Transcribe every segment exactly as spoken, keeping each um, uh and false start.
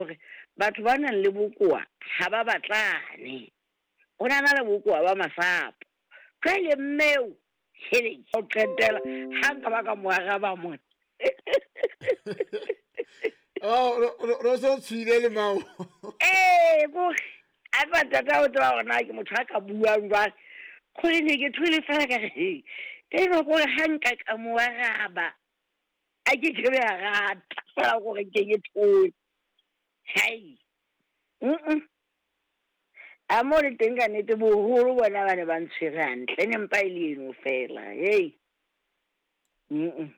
Hore batho ba nang le bokowa ha ba batlane. O na na le bokowa ba masapo. Jwale mmeo hele o qetela ha nka ba ka mo araba mona. Oh, ro so tshwile le mao. Ee, kore a tla tata o tseba hore na ke motho a ka buang jwang. Kgore ne ke thole fela ka re he. Eno kore ha nka ka mo araba. A ke ke be a rata fela gore ke ke thole. Hai. Mm. A mo le teng ka nnete boholo bona ba ne ba ntshwere hantle ne mpa e le eno fela. Hey. Mm.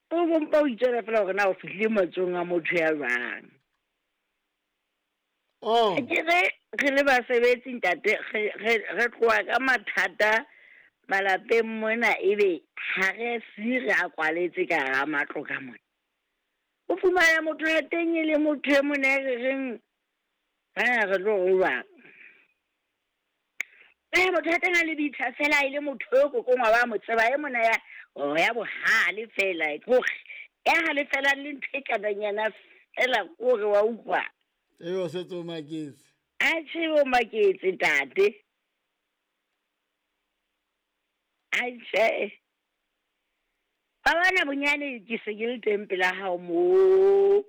O bo mpa o itswela fela hore na o fihlile matsohong a motho ya jwang. Oh. Ke re re le basebetsi ntate re re re tloha ka mathata malapeng mona ebe ha re si re a kwaletse ka hara matlo ka mona. O fumana motho ya teng e le motho e mona e re reng ha re tlo re jwang. Eh motho ya teng a le bitha fela e le motho eo kokongwa wa mo tseba e mona ya oh ya bohale fela kore ya halefelang le ntho e kananyana fela kore wa utlwa. Ebe o setse o maketse. Atjhe o maketse ntate. Atjhe. Ba bana bonyane ke se ke le teng pela hao mo.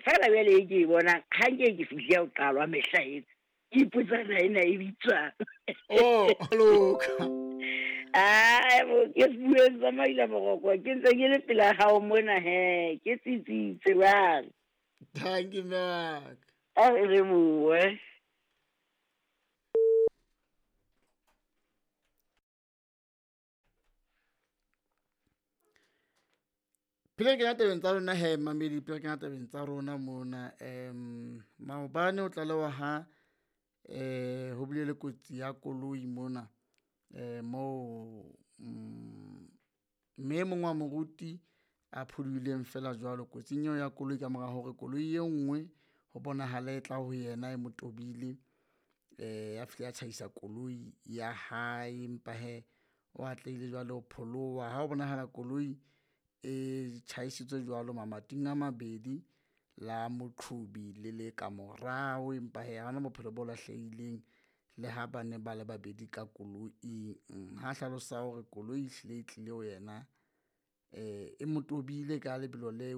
Fela jwale e ke e bonang ha nke ke fihle ho qalwa mehla ena. Ke ipotsa na ena e bitswang. Oh, loka. Ai bo ke sebueng sa maila boroko ke ntse ke le pela hao mona he ke tsitsitse jwale. Thank you, Mark. A re lebohe. Pele re kena tabeng tsa rona he mamedi, pele re kena tabeng tsa rona mona um maobane o tlalewa ha eh ho bile le kotsi ya koloi mona eh moo mme e mong wa moruti a phodileng fela jwalo kotsing eo ya koloi ka mora hore koloi e nngwe ho bonahala e tla ho yena e mo tobile eh ya fihla ya tjhaisa koloi ya hae, empa he o atlehile jwale ho pholoha. Ha ho bonahala koloi e tjhaisitswe jwalo mamating a mabedi la moqhobi le le ka morao, empa he ha hona bophelo bo lahlehileng le ha ba ne ba le babedi ka koloing. Ha hlalosa hore koloi e hlile e tlile ho yena eh e mo tobile ka lebelo le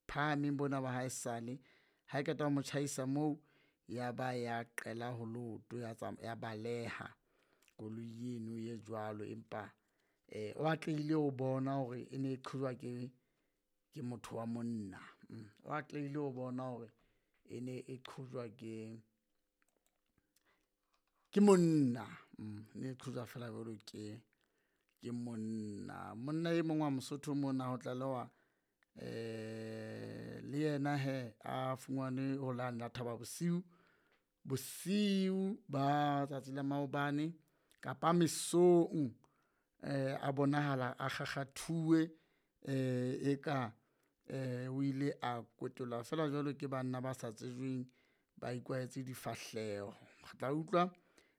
phahameng bona ba haesale. Ha e qeta ho mo tjhaisa moo ya ba ya qela ho leoto ya ya baleha koloi eno e jwalo, empa eh o atlehile ho bona hore e ne e qhojwa ke ke motho wa monna. O atlehile ho bona hore e ne e qhojwa ke ke monna, ne e qhojwa fela jwalo ke ke monna. Monna e mong wa Mosotho mona ho tlalewa eh le yena he a fumanwe ho lane la Thaba Bosiu, bosiu ba tsatsi la maobane kapa mesong eh a bonahala a kgakgathuwe eh eka eh o ile a kwetolwa fela jwalo ke banna ba sa tsejweng ba ikwahetse difahleho. Re tla utlwa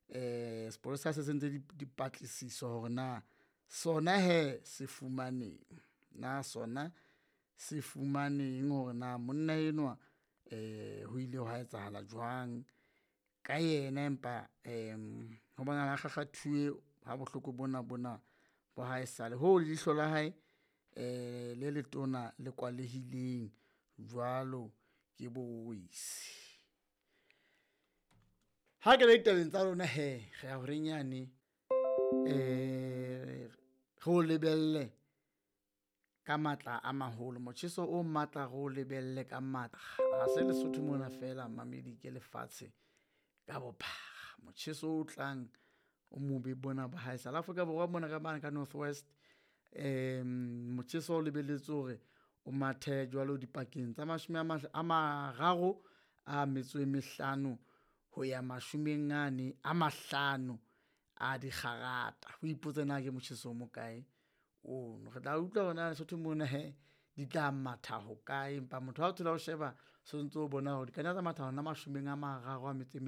eh sepolesa se sentse dipatlisiso hore na sona he se fumaneng, na sona se fumaneng hore na monna enwa eh ho ile hwa etsahala jwang ka yena, empa um ho bonahala a kgakgathuwe ha bohloko bona bona bo haesale hoo leihlo la hae eh le letona le kwalehileng jwalo ke bowesi. Ha ke le ditabeng tsa rona he re ya horeng yane eh re o lebelle ka matla a maholo, motjheso o matla re o lebelle ka matla. Ha se Lesotho mona fela mamedi, ke lefatshe ka bophara. Motjheso o tlang o mobe bona ba haesale Afrika Borwa mona ka mane ka North West um motjheso o lebelletse hore o mathe jwalo dipakeng tsa mashome a mararo a metso e mehlano ho ya mashomeng ane a mahlano a dikgarata. O ipotse na ke motjheso o mokae ono. Re tla utlwa hore na Lesotho mona he di tla matha hokae, empa motho ha o thola o sheba so ntso o bona hore di ka nna tsa matha hona mashomeng a mararo a metso e